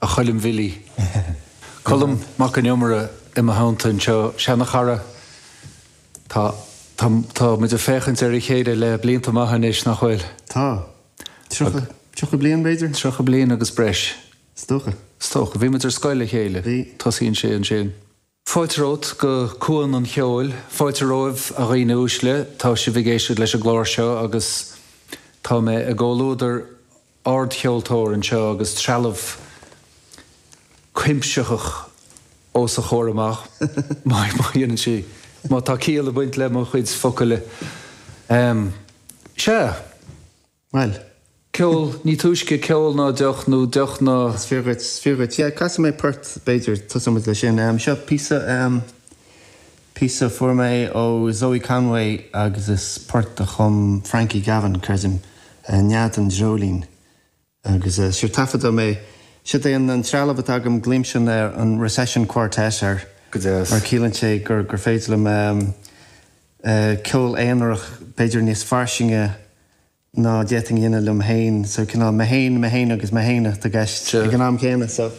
Choilm Bhilly. Colm Mac Con Iomaire i mo theannta anseo, seana-chara. Tá, tá, tá muid ag féachaint ar a chéile le blianta maithe anois, nach bhfuil? Tá. 30, 30 bliain, b'fhéidir? 30 bliain agus breis. Is dócha. Is dócha. Bhí muid ar scoil le chéile. Bhí. Tosaíonn sé ansin. Fáilte romhat go Cuan an Cheoil. Fáilte romhaibh, a dhaoine uaisle. Tá sibh ag éisteacht leis an gclár seo agus tá mé i gcomhluadar ardcheoltóir anseo agus trealamh cuimsitheach os a chomhair amach, má dhéanann sí, má tá ciall ag baint le mo chuid focail. Sea. Bhuel. Ceol, ní túisce ceol ná deoch, nó deoch ná. Is fíor dhuit, is fíor dhuit. Yeah, casfaidh mé port, b'fhéidir, tosóidh muid leis sin. Seo píosa, píosa a fuair mé ó Zoe Conway agus is port a chum Frankie Gavin, creidim, Nead an Dreoilín. Agus sure, taifeadadh mé, siod é an trealamh atá agam, glaoimse an Recession Quartet air. Go deas. Mar ciallaíonn sé gur féidir liom ceol aonarach, b'fhéidir níos fairsinge, ná d'fhéadfainn a dhéanamh liom féin. So cineál mé féin, mé féin agus mé féin atá i gceist ag an am céanna. So.